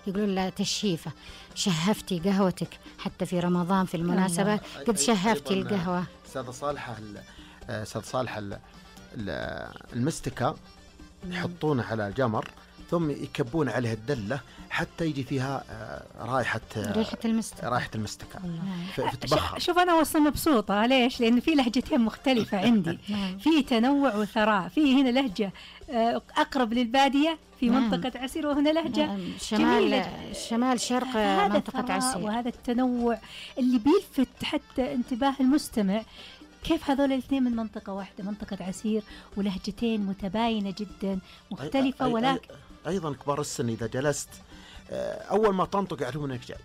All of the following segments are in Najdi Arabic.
يقولون له تشهيفة، شهفتي قهوتك حتى في رمضان في المناسبة قد شهفتي القهوة. أستاذ صالحة المستكة يحطونه على الجمر ثم يكبون عليه الدلة حتى يجي فيها ريحة المستكة فتبخر. شوف أنا وصل مبسوطة ليش؟ لأن في لهجتين مختلفة عندي في تنوع وثراء. في هنا لهجة أقرب للبادية في منطقة عسير، وهنا لهجة شمال شرق منطقة عسير. وهذا التنوع اللي بيلفت حتى انتباه المستمع، كيف هذول الاثنين من منطقة واحدة، منطقة عسير، ولهجتين متباينة جدا مختلفة. ولكن أيضا كبار السن إذا جلست أول ما تنطق يعرفون إنك جاي،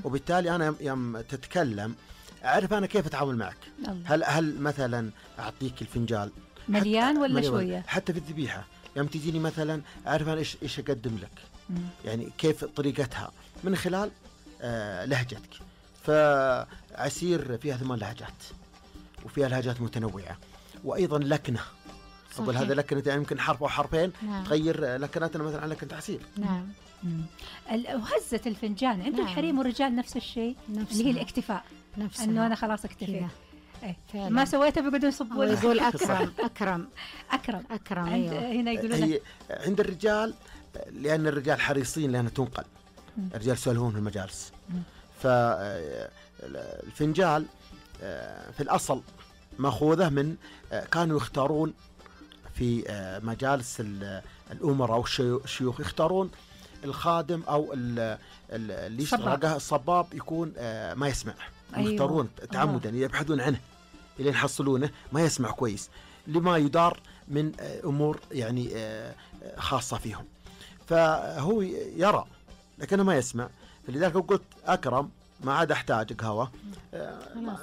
وبالتالي أنا يوم تتكلم أعرف أنا كيف أتعامل معك. هل مثلا أعطيك الفنجال مليان ولا شوية؟ حتى في الذبيحة يوم تجيني مثلا أعرف أنا إيش أقدم لك، يعني كيف طريقتها من خلال لهجتك. فعسير فيها 8 لهجات وفيها لهجات متنوعة، وأيضا لكنة. أقول هذا لكنة يعني يمكن حرف أو حرفين تغير لكناتنا مثلا على لكنة عسير. وهزة الفنجان عند الحريم والرجال نفس الشيء، اللي هي الاكتفاء، إنه أنا خلاص اكتفيت ما سويته بيقعدوا يصبون ويقول أكرم. هنا يقولون عند الرجال، لأن الرجال حريصين لأنها تنقل، الرجال يسولفون في المجالس. فالفنجال في الأصل مأخوذة من كانوا يختارون في مجالس الأمراء أو الشيوخ، يختارون الخادم أو اللي يشتغل الصباب يكون ما يسمع. يختارون تعمدا يبحثون عنه إلى يحصلونه ما يسمع كويس، لما يدار من أمور يعني خاصة فيهم، فهو يرى لكنه ما يسمع. فلذلك قلت أكرم ما عاد أحتاج قهوة،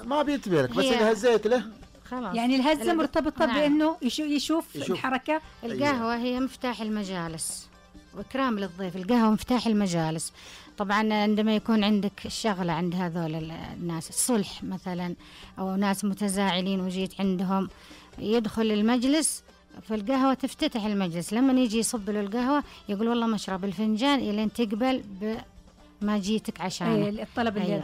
ما بينتبه لك، بس إذا هزيت له خلاص. يعني الهزة مرتبطة بأنه يشوف الحركة. القهوة هي مفتاح المجالس وإكرام للضيف. القهوة مفتاح المجالس. طبعا عندما يكون عندك شغلة عند هذول الناس، الصلح مثلا أو ناس متزاعلين وجيت عندهم، يدخل المجلس فالقهوة تفتتح المجلس. لما يجي يصب له القهوة يقول والله مشرب الفنجان إلين تقبل ما جيتك عشان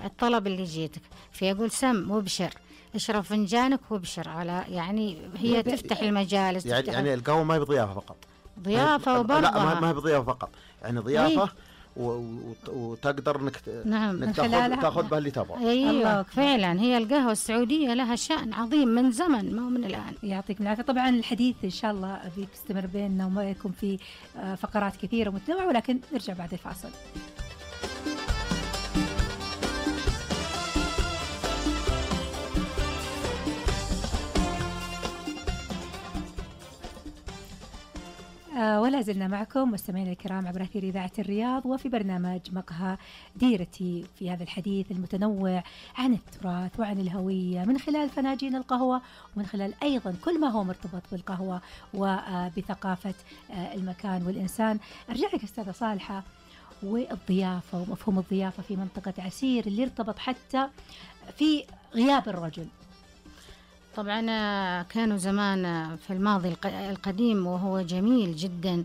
الطلب اللي جيتك، فيقول سم وابشر، اشرب فنجانك وابشر على، يعني هي تفتح المجالس. يعني القهوة ما هي بضيافة فقط، ضيافة وبرضه لا ما هي بضيافة فقط، يعني ضيافة وتقدر انك تاخذ بها اللي تبغى. ايوه فعلا هي القهوة السعودية لها شأن عظيم من زمن، ما من الآن. يعطيكم العافية. طبعا الحديث ان شاء الله بيستمر بيننا وما يكون في فقرات كثيرة متنوعة، ولكن نرجع بعد الفاصل. ولا زلنا معكم مستمعينا الكرام عبر أثير إذاعة الرياض وفي برنامج مقهى ديرتي، في هذا الحديث المتنوع عن التراث وعن الهوية من خلال فناجين القهوة، ومن خلال أيضا كل ما هو مرتبط بالقهوة وبثقافة المكان والإنسان. أرجع لك أستاذة صالحة، والضيافة ومفهوم الضيافة في منطقة عسير اللي ارتبط حتى في غياب الرجل. طبعا كانوا زمان في الماضي القديم وهو جميل جدا،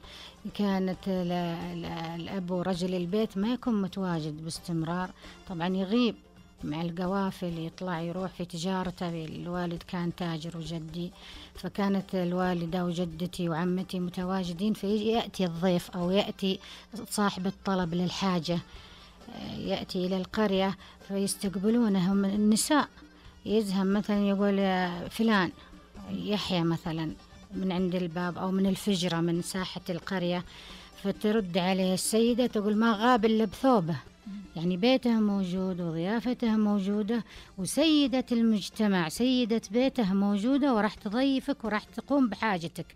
كانت الأب ورجل البيت ما يكون متواجد باستمرار، طبعا يغيب مع القوافل، يطلع يروح في تجارته. الوالد كان تاجر وجدي، فكانت الوالدة وجدتي وعمتي متواجدين، فيأتي الضيف أو يأتي صاحب الطلب للحاجة، يأتي إلى القرية فيستقبلونهم النساء. يزهم مثلا يقول فلان يحيى مثلا من عند الباب أو من الفجرة من ساحة القرية، فترد عليه السيدة تقول ما غاب إلا بثوبه، يعني بيته موجود وضيافته موجودة وسيدة المجتمع سيدة بيته موجودة وراح تضيفك وراح تقوم بحاجتك.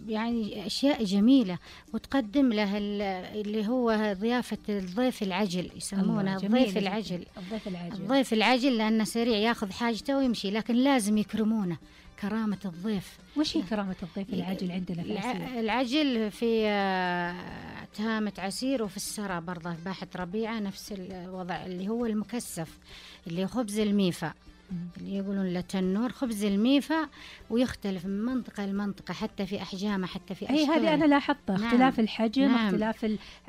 يعني أشياء جميلة، وتقدم له اللي هو ضيافة الضيف العجل، يسمونه الضيف العجل. الضيف العجل لأنه سريع ياخذ حاجته ويمشي، لكن لازم يكرمونه، كرامة الضيف. وش هي كرامة الضيف العجل عندنا في عسير؟ العجل في تهامة عسير وفي السرى برضه في باحة ربيعة نفس الوضع، اللي هو المكثف اللي خبز الميفا اللي يقولون له تنور، خبز الميفا، ويختلف من منطقة لمنطقة حتى في أحجامه حتى في أشكاله. هذه أنا لاحظتها، اختلاف الحجم، اختلاف